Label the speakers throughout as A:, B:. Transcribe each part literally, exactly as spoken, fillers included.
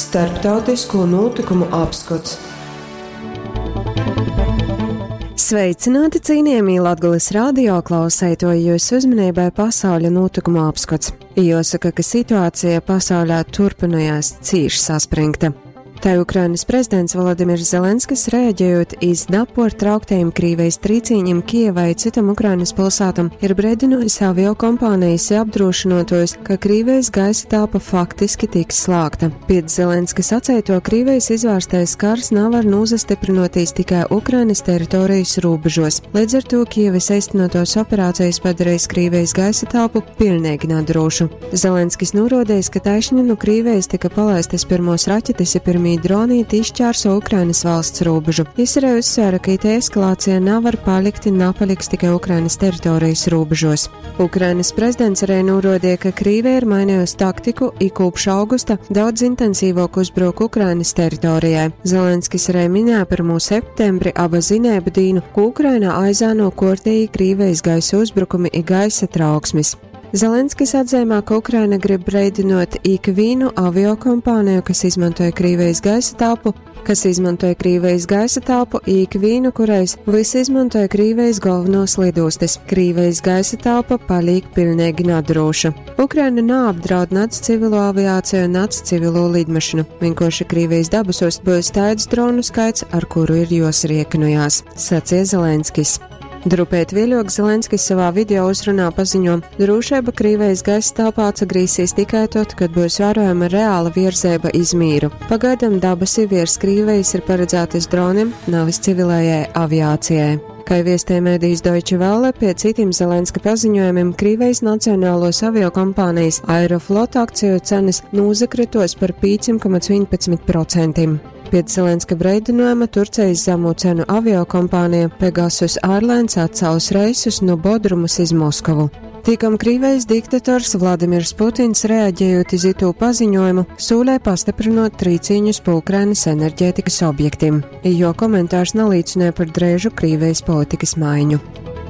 A: Starptautisko notikumu apskots. Sveicināti, cienījamie Latgulas radio klausētoji, jūsu uzmanībai pasauļa notikumu apskats. Jāsaka, ka situācija pasaulē turpinājās cīši saspringta. Tai Ukrainas prezidents Volodimirs Zelenskis, reaģējot iz naportrauktajiem Krīvijas trīcīņiem Kijevai citam Ukrainas pilsētam, ir brīdinājis avio kompānijas apdrošinotojus, ka Krīvijas gaisa telpa faktiski tiks slēgta. Pēc Zelenska sacēto, Krīvijas izvērstais kars nav var nūzastiprinoties tikai Ukrainas teritorijas robežos. Līdz ar to Kijevas eistenotos operācijas padarījis Krīvijas gaisa telpu pilnīgi nedrošu. Zelenskis norādījis, ka taišņi no Krīvijas tika palaistas pirmos raķetes ja pirmie dronīti izšķērso Ukrainas valsts robežu. Jis arī uzsvēra, ka it eskalācija nav var palikt un napaliks tikai Ukrainas teritorijas robežos. Ukrainas prezidents arī norādīja, ka Krīvija ir mainījusi taktiku i kopš augusta daudz intensīvāk uzbruk Ukrainas teritorijai. Zelenskis arī minēja pirmo septembri aba zinēbu dīnu, ko Ukrainā aizāno kortīgi Krīvijas gaisa uzbrukumi i gaisa trauksmes. Zelenskis atzīmē, ka Ukraina grib breidinot ikvienu aviokompāniju, kas izmantoja Krīvijas gaisa telpu, kas izmantoja Krīvijas gaisa telpu, ikvienu, kurais visi izmantoja Krīvijas galvenos lidostas. Krīvijas gaisa telpa paliek pilnīgi nedroša. Ukraina neapdraud nec civilo aviāciju, nec civilo lidmašīnu. Vienkārši Krīvijas dabasos būs tāds dronu skaits, ar kuru ir josriekinojās, sacīja Zelenskis. Drupēt vieļok Zelenskis savā video uzrunā paziņo, drošība Krīvijas gaisa telpā atsagrīsīs tikai tad, kad būs vērojama reāla virzēba iz mīru. Pagaidām dabasi virs Krīvijas ir paredzētas dronim, nevis civilējai aviācijai. Kā viestē mēdījis Deutsche Welle, pie citiem Zelenska paziņojumiem Krīvijas nacionālos aviokompānijas Aeroflot akciju cenas nūzakritos par pieciem komats vienpadsmit procentiem. Pēc Zelenska breidinājuma Turcijas zemo cenu aviokompānija Pegasus Airlines atcēlus reisus no Bodrumas iz Moskavu. Tikam Krīvijas diktators Vladimirs Putins, reaģējot iz itū paziņojumu, sūlē pastiprinot trīcīņus pa Ukrainas enerģētikas objektiem, jo komentārs nalīdzināja par drēžu Krīvijas politikas maiņu.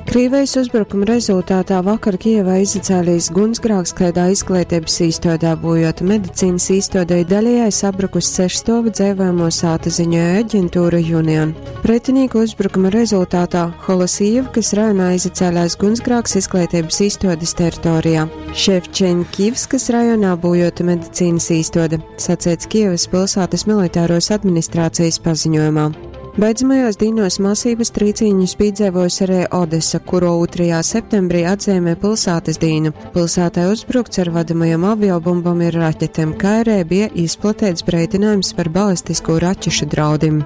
A: Krīvijas uzbrukuma rezultātā vakar Kijevā izacēlīs gunsgrāks klēdā izglītības īstodē, bojot medicīnas īstodē daļējai sabrukus sešstovu dzēvojamo sāta ziņoja aģentūra Union. Pretinieku uzbrukuma rezultātā Holosijevkas rajonā izacēlās gunsgrāks izglītības īstodes teritorijā. Ševčenkivskas rajonā bojota medicīnas īstode, sacēts Kijevas pilsētas militāros administrācijas paziņojumā. Beidzamajos dīnos masīvas trīcīņus piedzīvojusi arī Odesa, kuro otrajā septembrī atzīmē pilsētas dīnu. Pilsētai uzbrukts ar vadamajām aviobumbām ir raķetēm, kā arī bija izplatīts breidinājums par balistisko raķešu draudim.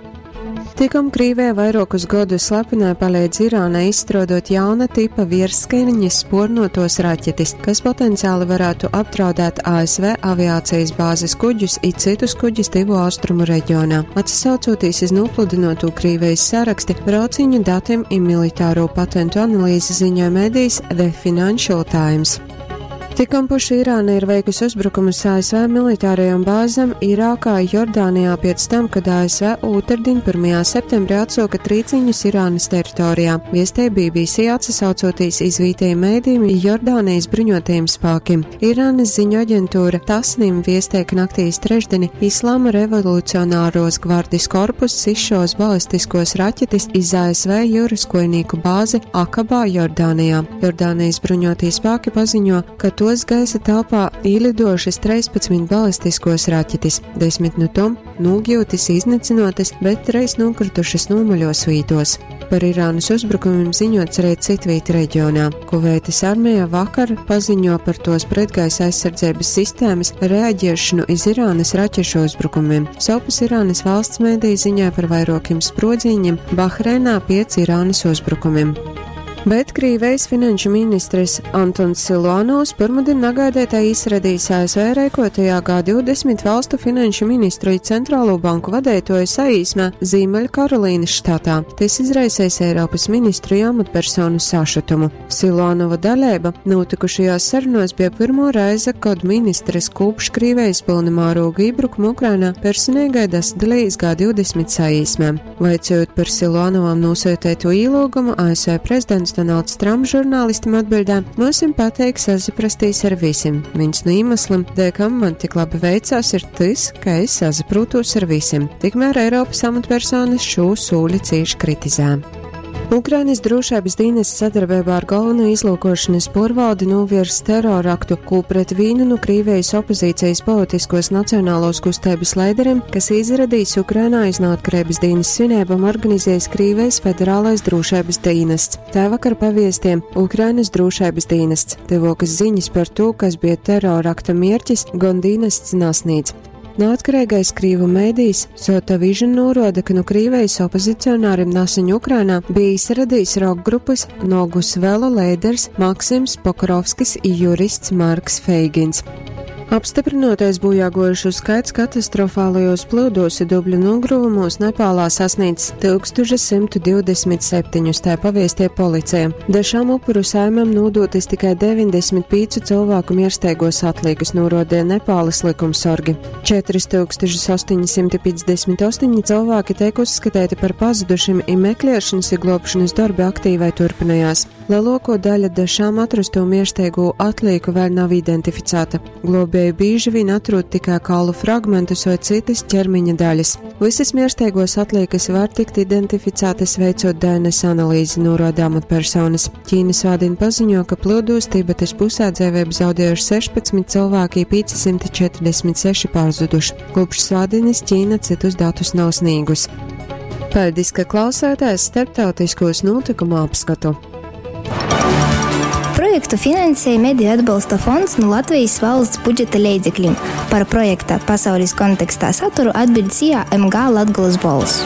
A: Tikam Krīvija vairākus gadus slepenai palīdz Irānai izstrādot jauna tipa virsskaiņas spornotos raķetes, kas potenciāli varētu apdraudēt A S V aviācijas bāzes kuģus i citus kuģus Tuvo Austrumu reģionā. Atsaucoties iz nopludinoto Krīvijas saraksti, brauciņu datiem i militāro patentu analīzi ziņoja medijs The Financial Times. Tikam puši Irāna ir veikusi uzbrukumus A S V militārajām bāzēm Irākā, Jordānijā pēc tam, kad A S V otrdien pirmajā septembrī atsūka trīciņus Irānas teritorijā. Viestē B B C atsaucoties izvītajiem mēdījiem Jordānijas bruņotajiem spēkiem. Irānas ziņu aģentūra Tasnim viestē, ka naktīs trešdieni Islāma revolucionāros gvardis korpus izšaus balistiskos raķetes iz A S V jūras kojnieku bāzi Akabā, Jordānijā. Jordānijas bruņotie spēki paziņo, ka tos gaisa telpā ielidošas trīspadsmit balistiskos raķetes, desmit no tom nūgļūtis iznīcinotas, bet treis nokritušas nomaļos vītos. Par Irānas uzbrukumiem ziņots arī citvīt reģionā. Kuveitas armija vakar paziņo par tos pretgaisa aizsardzības sistēmas reaģēšanu iz Irānas raķešu uzbrukumiem. Sopus Irānas valsts mēdī ziņoja par vairākiem sprodziņiem Bahreinā piec Irānas uzbrukumiem. Bet Krīvijas finanšu ministrs Antons Siluanovs pirmdien nagaidētā izradījis A S V rēkotajā G divdesmit valstu finanšu ministru i centrālo banku vadētoju saīsmē Zīmeļkarolīnas štatā. Tas izraisījis Eiropas ministru i amatpersonu sašutumu. Siluanova dalība notikušajās sarunās bija pirmo reize, kad ministrs kopš Krīvijas pilna mēroga iebrukuma Ukrainā personīgai dasadalījis G divdesmit saīsmē. Vaicojot par Siluanovam nosūtīto ielūgumu, A S V prezidents Prezidents Donalds Trumps žurnālistim atbildē: "Myusim pateik sasaprastīs ar visim. Viens no iemesliem, dēļ kam man tik labi veicās, ir tas, ka es sasaprūtos ar visiem." Tikmēr Eiropas amatpersonas šo sūli cīši kritizē. Ukrainas drošības dienests sadarbībā ar galveno izlūkošanas porvaldi novirs teroraktu, ko pret vīnu no Krīvijas opozīcijas politiskos nacionālos kustības leideriem, kas izradījis Ukrainā iz neatkarības dienas svinībām, organizējis Krīvijas federālais drošības dienests. Tā vakar paviestiem Ukrainas drošības dienests. Tevokas ziņas par to, kas bija terorakta mierķis, gan dienests nasnīdz. Neatkarīgais Krīvu mēdījis Sota Vision norāda, ka no Krīvijas opozicionāriem naseņ Ukrainā bija izradījis rock grupas Nogus Velo leiders Maksims Pokrovskis i jurists Marks Feigins. Apstiprinotais bojāgojušu skaits katastrofālajos plūdos i dubļu nogruvumos Nepālā sasniedz tūkstoš simt divdesmit septiņus, tā paviestie policija. Dažām upuru saimēm nodotas tikai deviņdesmit piecu cilvēku miersteigos atliekas, norodīja Nepāles likumsorgi. četri tūkstoši astoņi simti piecdesmit astoņi cilvēki tiek uzskatīti par pazudušiem, i meklēšanas i glābšanas darbi aktīvai turpinājās. Lielāko daļu dažām atrasto miersteigu atlieku vēl nav identificēta. Globēji bieži vien atrod tikai kaulu fragmentus vai citas ķermeņa daļas. Visas miersteigos atliekas var tikt identificētas, veicot D N S analīzi, norāda amatpersonas. Ķīna svādien paziņo, ka plūdos Tibetas pusē dzīvību zaudējuši sešpadsmit cilvēki, pieci simti četrdesmit seši pazuduši. Kopš svādienes Ķīna citus datus nav sniegusi. Paldies, ka klausāties starptautiskos notikumu apskatu.
B: Projektu finansēja Mediju atbalsta fonds no Latvijas valsts budžeta leidzekļiem. Par projekta pasaules kontekstā saturu atbild S I A M G Latgolas Bolss.